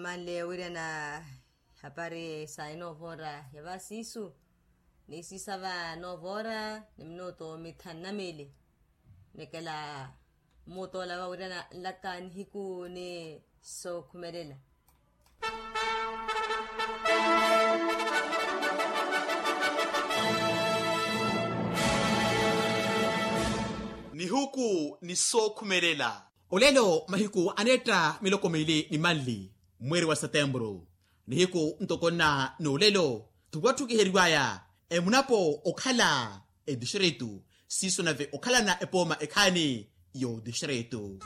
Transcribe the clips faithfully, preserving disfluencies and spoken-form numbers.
Manle wira na hapari sa inoovora ya vasisu ni sisava noovora ni minuto mithanna mili. Nikela mutola vawirana nlaka nihiku ni sookhumelela. Nihuku ni sookhumelela. Olelo mahiku aneetta miloko mili ni manli, mweeri wa setemburu, nihiku ntoko nna n'olelo, tuwatthukiheriwaya emunapo okhala etistritu, siiso nave okhalana epooma ekhaani y'otistritu.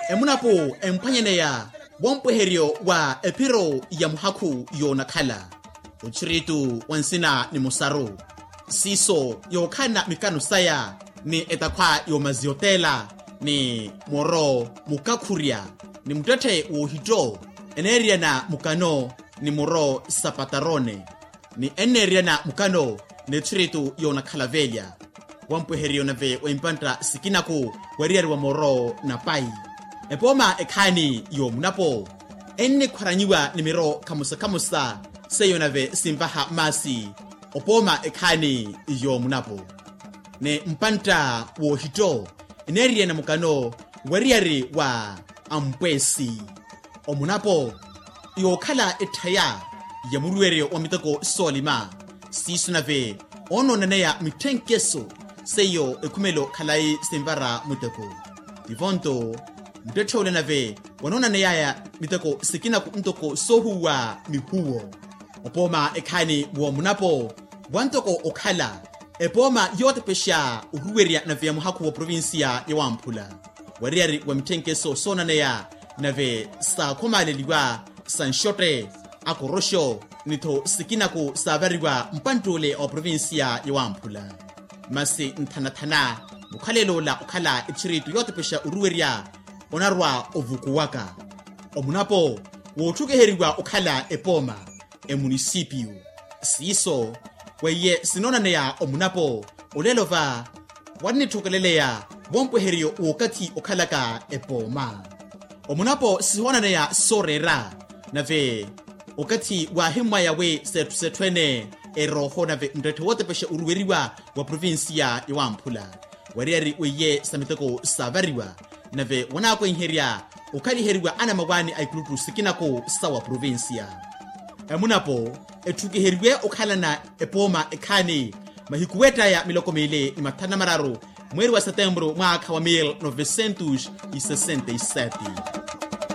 Emunapo emphwanyaneya wompweheryo wa ephiro ya muhakhu yoonakhala, othiritu wa nsina ni musaru, siiso yookhalana mikano saya ni etakhwa y'omaziotela ni moro mukakhurya ni muttetthe w'ohitto, eneeriyana mukano ni moro sa patarone ni enneeriyana mukano n'etthiritu yoonakhala velya. Wampweheriyo nave wa impantta sikinaku wariyari wa moro na pai. Epooma ekhaani y'omunapo ennikhwaranyiwa ni miro khamusa-khamusa, seiyo nave sinvaha maasi. Opooma ekhaani y'omunapo ni mpantta w'ohitto eneeriyana mukano wariyari wa ampweesi. Omunapo yookhala etthaya ya muruweryo wa miteko soolima, siiso nave onoonaneya mitthenkeso seiyo ekhumelo khalayi sinvara muteko. Tivo-nto muttetthe ole nave wanoonaneyaya miteko sikinaku ntoko soohuwa mihuwo. Opooma ekhaani w'omunapo wantoko okhala epooma yootepexa oruwerya nave ya muhakhu wa provincia ya wamphula, wariyari wa mitthenkeso soonaneya nave saakhomaaleliwa sa nxotte, akoroxo ni-tho sikinaku saavariwa mpantt'ule wa provincia ya wamphula. Masi nthana-thana mukhalelo ola okhala etthiritu yootepexa oruwerya onarwa ovukuwaka. Omunapo wootthukiheryiwa okhala epooma emunisipiyu. Siiso weiye sinoonaneya omunapo olelo va wannitthokeleleya wompweheriyo w'okathi okhalaka epooma. Omunapo sihoonanaya sooreera nave okathi waahimmwaya wi setthu-setthu ene erooho nave muttetthe wootepexa oruweriwa wa provincia ya wamphula, wariyari weiye sa miteko saavariwa nave wanaakwenherya okhaliheriwa anamawaani a ikuluttu sikinaku sa wa provincia. Emunapo etthukiheriwe okhalana epooma ekhaani mahiku weettaya miloko miili ni mathanu na mararu mweeri wa setemburu mwaakha wa mil novecentos e sessenta e sete.